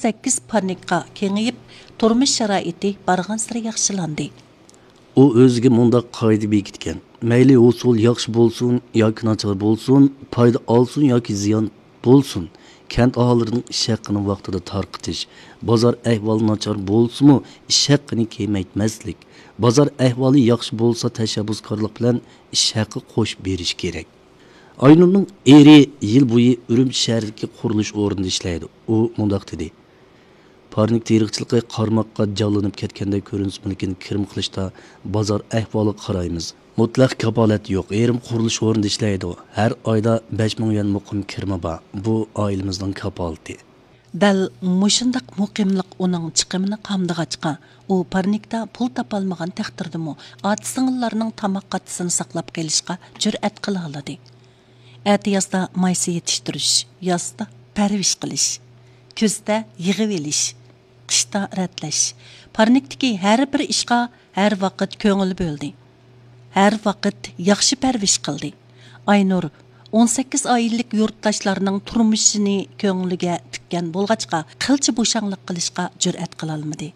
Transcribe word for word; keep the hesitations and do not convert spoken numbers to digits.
سەككىز پارنىكقا كېڭىيىپ، تۇرمۇش شارائىتى بارغانسېرى ياخشىلاندى. ئۇ ئۆزىگە مۇنداق قائىدە بېكىتكەن: مەيلى ھوسۇل ياخشى بولسۇن ياكى ناچار بولسۇن، پايدا ئالسۇن ياكى زىيان بولسۇن، كەنت ئاھالىلىرىنىڭ ئىش ھەققىنى ۋاقتىدا تارقىتىش، بازار ئەھۋالى ناچار بولسىمۇ، ئىش ھەققىنى كېمەيتمەسلىك، بازار ئەھۋالى ياخشى بولسا، تەشەببۇسكارلىق بىلەن ئىش ھەققى قوشۇپ بېرىش كېرەك. ئاينۇرنىڭ ئېرى يىل بويى ئۈرۈمچى شەھىرىدىكى قۇرۇلۇش ئورنىدا ئىشلەيدۇ. ئۇ مۇنداق دېدى: پارنىك تېرىقچىلىقى قارىماققا جانلىنىپ كەتكەندەك كۆرۈنسىمۇ، لېكىن كىرىم قىلىشتا بازار ئەھۋالىغا قارايمىز. مۇتلەق كاپالەت يوق. ئېرىم قۇرۇلۇش ئورنىدا ئىشلەيدۇ. ھەر ئايدا بەش مىڭ يۈەن مۇقىم كىرىمى بار. بۇ ئائىلىمىزنىڭ كاپالىتى. دەل مۇشۇنداق مۇقىملىق ئۇنىڭ چىقىمىنى قامدىغاچقا، ئۇ پارنىكتا پۇل تاپالمىغان تەقدىردىمۇ، ئاچا-سىڭىللارنىڭ تاماق قاتىسىنى ساقلاپ قېلىشقا جۈرئەت قىلالىدى. ئەتىيازدا مايسا يېتىشتۈرۈش، يازدا پەرۋىش قىلىش، كۈزدە يىغىۋېلىش، قىشتا رەتلەش. پارنىكتىكى ھەر بىر ئىشقا ھەر ۋاقىت كۆڭۈل بۆلدى. ھەر ۋاقىت ياخشى پەرۋىش قىلدى. ئاينۇر ئون سەككىز ئائىلىلىك يۇرتداشلارنىڭ تۇرمۇشىنى كۆڭلىگە تىككەن بولغاچقا، قىلچە بوشاڭلىق قىلىشقا جۈرئەت قىلالمىدى.